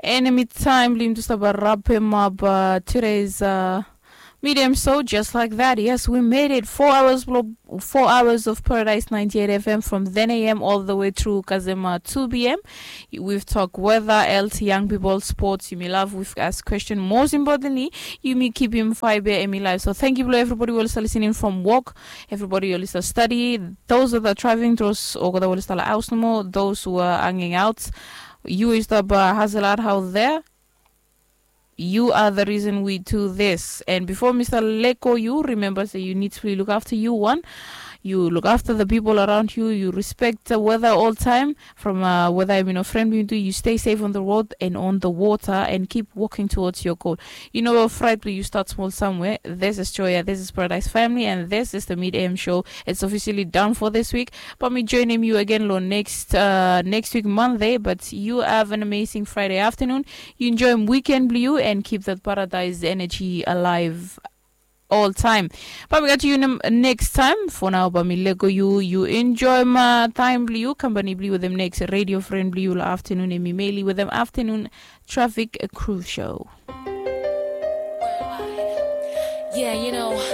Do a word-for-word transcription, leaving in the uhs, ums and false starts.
Enemy time, blim to stop a wrap him up. Uh, today's uh, medium show just like that. Yes, we made it. Four hours, blo- four hours of Paradise ninety-eight F M from ten a m all the way through Kazema two p m. We've talked weather, health, young people, sports. You may love. We've asked question. Most importantly, you may keep him fiber and me live. So thank you, blo everybody who is listening from work. Everybody who is study. Those that are traveling, those or that will start house no more. Those who are hanging out. You is the uh, hustle out out there. You are the reason we do this. And before Mister Leko, you remember say you need to look after you one. You look after the people around you. You respect the weather all time. From uh, whether I'm in a friend we do, you stay safe on the road and on the water and keep walking towards your goal. You know, fright you start small somewhere. This is Joya. This is Paradise Family, and this is the Mid A M show. It's officially done for this week. But me joining you again lo next uh, next week Monday. But you have an amazing Friday afternoon. You enjoy weekend blue and keep that Paradise energy alive all time. But we got you next time. For now, but me Lego you. You enjoy my time blue. Company blue with them next radio friend blue afternoon. And me mainly with them afternoon traffic crew show. Yeah, you know.